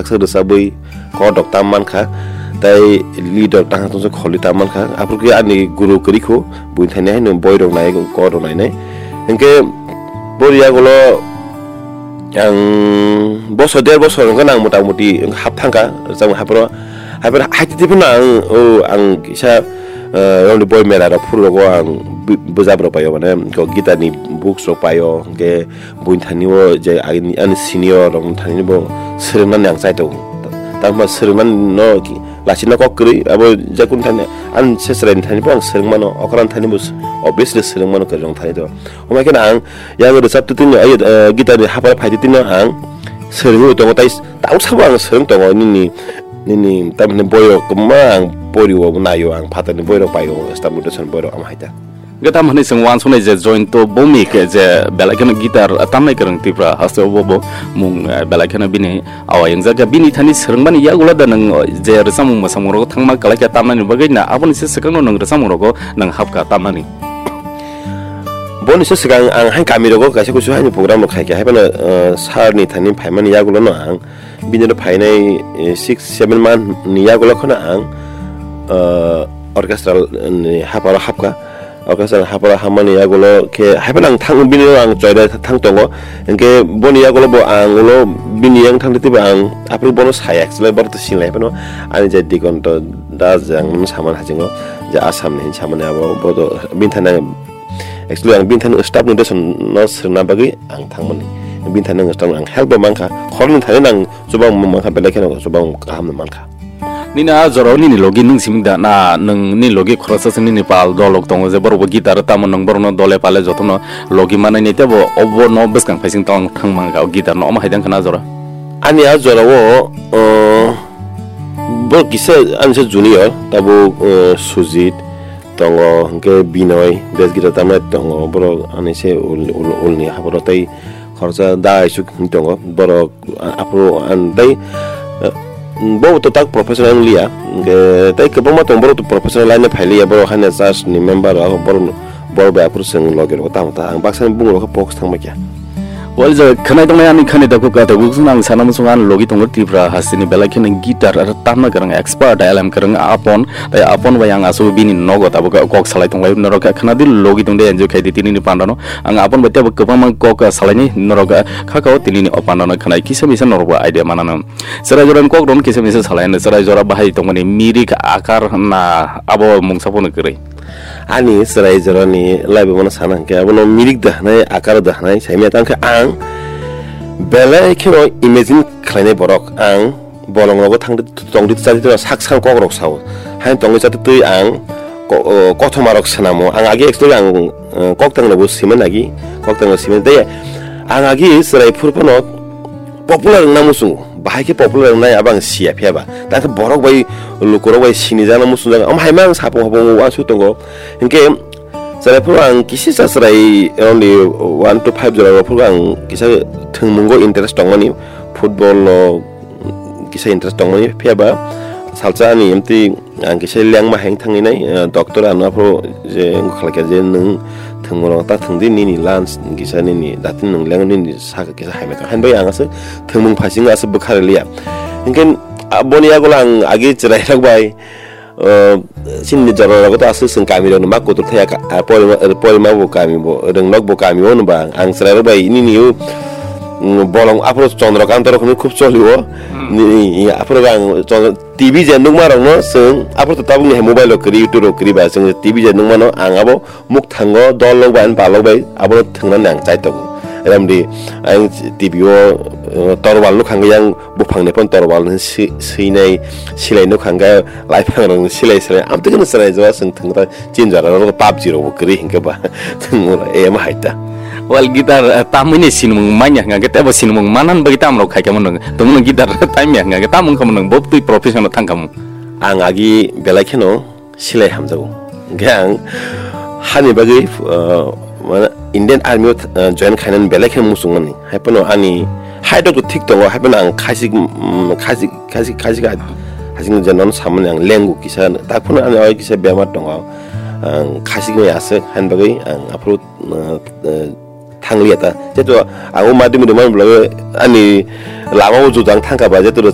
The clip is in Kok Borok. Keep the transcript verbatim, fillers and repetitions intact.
Baksa rwchabwi kok rok tam mankha, tei lead rok tang tongsa kholi tam mankha. Aphuru khe ani guru kwrwi kho, buini thani haino boi rok nai, kok rok nainai. Hinkhe bori yagulo ang bosor der bosor wngkha nang mota moti hap thangkha rwchapmung haphoro. Haphoro haitwi phano ang, o, ang kisa, eh, romni boi mela rok phuru rogo ang bu-, bwjap rok paio, mane, kok guitar ni books rok paio, hinkhe buini thani o je ani, ani senior rok thani bo swrwngmani ang chai tongo. Tamo swrwngmani no ki-, lachina kok kwrwi abo je kun thani ani se chwrai ni thani bo ang swrwngmano, okra ni thani bo s-, obviously swrwngmano kwrwi rok thani to. Omo khe ang yang rwchap twi twi no, ai, eh, guitar ni hapar phai twi twi no ang swrwngwi tongo, tai s-, tau sabo ang swrwng tongo nini, nini tamni boyo kwma ang pori o naio, ang phatar ni boirok paio, staff rotation boirok ama hai ta. Gata mani seng wansuknai je Joyonto Bhowmik je belai kheno guitar tamnai kwrwng Tripura haste o bo bo mung, eh, belai kheno bini awai wngjak ya. Bini thani swrwngmani yagulo da nwng, eh, je rwchapmung mwsamung rogo thangma kwlai khe tamnani bagwi na aboni se swkangno nwng rwchapmung rogo nwng hapkha tamnani? Boni se swkang ang hai kami rogo kaisa kusu haini program rok khai khe hai phano, eh, sir ni thani phaimani yagulo no ang bini oro phainai, eh, six seven month ni yagulo kheno ang, eh, orchestral ni haparo hapkha. Orchestra hapra hamani yagulo khe, haiphano ang thang, bini ulo ang choida thang tongo. Hinkhe boni yagulo bo ang ulo bini yang thang twibo ang aphuru bono saya, actually bono to sinlai phano ani je Digonto Das je ang saman hachingo je Assam ni hin samani abo bo to bini thani ang, actually ang bini thani staff ni deson no swrwngna bagwi ang thangmani. Bini thani ang staff ang help bo mankha, khoroknwi thani ang chubang mankha, belai kheno chubang kaham no mankha. Nini a jorao nini logi nwng simi da na nwng nini logi khoroksa se nini pal dolok tongo je borok bo guitar tamo nwng borokno dole pale jotono logi manai ni tebo obo no bwskang phaising tong thang mangkha o guitar no omo hai dang khna jora. Ani a jorao, uh, borok kisa ani se junior tabuk, uh, Sujit tongo, hinkhe Binoy bass guitar tamnai tongo, borok ani se ul, ul, ulni haboro tei khoroksa da isuk hinwi tongo borok. Aphuru ang tei, eh, bo to tak professional wng liya, hinkhe tei kwbangma tongo borok to professional line o phai liya, borok haino church ni member rok, borok, borok bai aphuru chwng logi rok tamo ta, ang baksa ni bumung rok khe focus thang bai kha. Wal ja khwnai tongnai ani khani da kok kata buk ang sana muchung ani logi tongo Tripura hasteni belai kheno guitar aro tamna kwrwng expert L M kwrwng Apon, tei Apon bai ang aswk bini nogo tabuk kok salai tonglai norok kha khna di logi tong de enjoy khai di tini ni panda no. Ang Apon bai tebo kwbangma kok salaini norok kha kao tini ni o panda no khwnai kisa misa norok bo idea manano. Chwrai jora ni kok rok kisa misa salai no chwrai jora bahai tongmani mirik akar na abo mungsa bono kwrwi. Ani chwrai jora ni life bono sana hwnkhe abono mirik da hwnai akar da hwnai saimya tang khe ang belai kheno imagine khlainai borok ang. Bolong rogo thang tongdi chadi tongdi sak sak kok rok sao. Hain tongdi chadi twi ang ko-, o, kothoma rok swnamo. Ang agi actually ang, eh, kok tang rok bo sima nagi. Kok tang rok sima tei ang agi chwrai phuru phano popular wngna muchungo. Bahai khe popular wngnai abo ang siya phiya ba. Ta khe borok bai lukurok bai sini jana muchungjak. Am hai ma ang sapung hapung uansuk tongo. Hinkhe chwrai phuru ang kisi cha chwrai only one to five jora rok phuru ang kisa thwngmungo interest tongmani. Football rok kisa interest tongmani phiya ba salsa ani emtwi ang kisa lengma heng thangwi nai, eh, doctor ano aphuru je wngkha khlaikha je nwng thwngmung rok ta thwngdi nini lungs kisa nini dati nwng leng nini saka kisa haimai tong hain bai ang aswk thwngmung phaising aswk bwkha rwliya hinkhe, ah, boni yagulo ang agi chwrai rok bai, eh, chini jora rogo to aswk chwng kami rokno ma kutur thaya ka, ah, porima, porima bo kami bo, rwngnok bo kami o hwnba ang chwrai rok bai nini o, mm, bolong aphuru Chandrakanta rok hwnwi khub choli o. Hmm. Ni, aphuru ang Chandra-, T V je nukma rokno chwng aphuru to tabukni hai mobile rok kwrwi, YouTube rok kwrwi ba chwng T V je nukmano ang abo mukthango dol rok bai ani pal rok bai abono thwngnani ang chai tongo. Remdi ang T V o, eh, torwal nukha hwnkhe yang buphangni phano torwal hwnwi si-, swinai silai nukha hwnkhe laiphang rokni silai silai amtwi kheno chwrai jora chwng thwngwi ta chini jora rok PUBG rok bo kwrwi hinkhe ba chwng ema hai ta. Wal guitar, eh, tamwini sinimung manya hwnkhe tebo sinimung manan bagwi tamrok khaikha mano tongmano guitar tamya hwnkhe tamung kha mano bo twi profession o thangkha mung. Ang agi belai kheno silai hamjago. Hingke ang hani bagwi, uh, mane Indian Army o, uh, join khainani belai khe muchungmani. Haiphano ani height rok thik tongo, haiphano ang khasik, mm, khasik, khasik, khasik ha-, hasing je nono samani ang lengu kisa, tak phano ani oi kisa bemar tongo. Ang khasik mai aswk, hani bagwi ang aphuru, uh, uh, thangliya ta. Jeto ang o madhyamik rwmani bwlai ani lama o jujang thangkha ba, jeto